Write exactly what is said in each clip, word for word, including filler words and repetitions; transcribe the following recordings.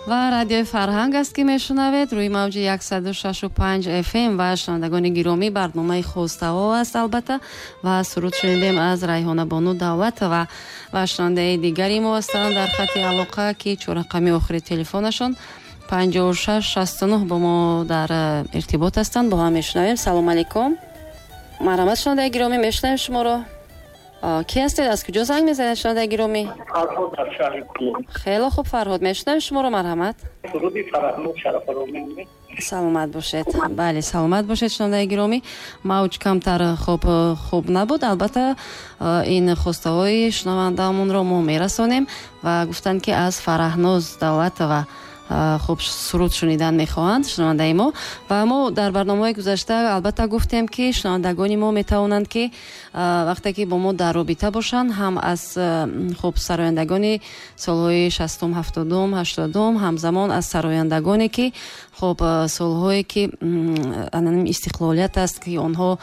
Ва Радиои Фарҳанг аст, ки мешунавед рӯи мавҷи яксаду шашу панҷ эф эм. Ва шунавандагони гиромӣ, барномаи хостаҳо аст албатта, ва суруд шунидем аз Райҳонабону Давлатова. Ва шунавандаи дигари мо ҳастанд дар хати алоқа, ки чоррақами охири телефонашон панҷоҳу шаш шасту нӯҳ бо мо дар иртибот ҳастанд. Бо ҳам мешунавем. Салом алейкум. Марҳамат, шунавандаи гиромӣ, мешунавем шуморо. Ки ҳастед, аз куҷо занг мезанед, шунавандаи гиромӣ? Фарҳод дар шаҳри Кӯлоб. Хеле хуб, Фарҳод, мешунавем шуморо, марҳамат. Суруди Фарҳнуд Шарафаро мехонем. Саломат бошед. Бале, саломат бошед, шунавандаи гиромӣ. Мавҷ камтар хуб, хуб набуд. Албатта ин хостаҳои шунавандаамонро мо мерасонем ва гуфтанд, ки аз Фарҳноз Давлатова хуб суруд шунидан мехоҳанд шунавандаи мо. Ва мо дар барномаҳои гузашта албатта гуфтем, ки шунавандагони мо метавонанд, ки вақте ки бо мо дар робита бошанд, ҳам аз хуб сарояндагони солҳои шастум, ҳафтодум, ҳаштодум, ҳамзамон аз сарояндагоне, ки хуб солҳое ки истиқлолият аст, ки онҳо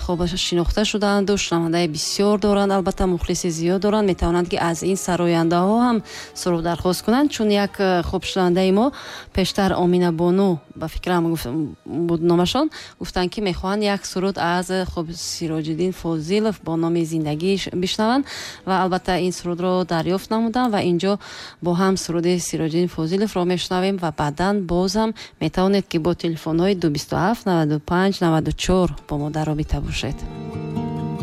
хуб шинохта шудаанд ва шунавандаи бисёр доранд, албатта мухлиси зиёд доранд, метавонанд, ки аз ин сарояндаҳо ҳам суруд дархост кунанд. Чун як хуб шунавандаи мо пештар Омина Бону, ба фикрам буд номашон, гуфтанд, ки мехоҳанд як суруд аз хуб Сироҷиддин Фозилов бо номи Зиндагӣ бишнаванд ва албатта ин сурудро дарёфт намуданд ва инҷо бо ҳам суруди Сироҷиддин Фозиловро мешунавем ва баъдан боз ҳам метавонед, ки бо телефонҳои ду бисту ҳафт, наваду панҷ, наваду чор бо мо дар робита бошед.